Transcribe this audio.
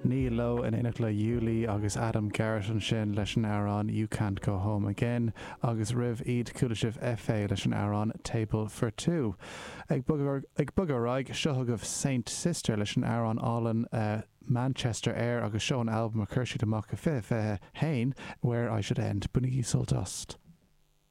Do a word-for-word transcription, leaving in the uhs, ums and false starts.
Neil Lowe in éineacht le Yuli agus Adam Garrett ansin leis an amhrán You Can't Go Home Again agus roimh iad chuala sibh FA leis an amhrán Table for Two. Ag bogadh ar aghaidh seo chugaibh Saint Sister leis an amhrán álainn uh, Manchester Air agus seo an albam a chuir siad amach i fiche fiche haon where I should end. Bainigí sult as.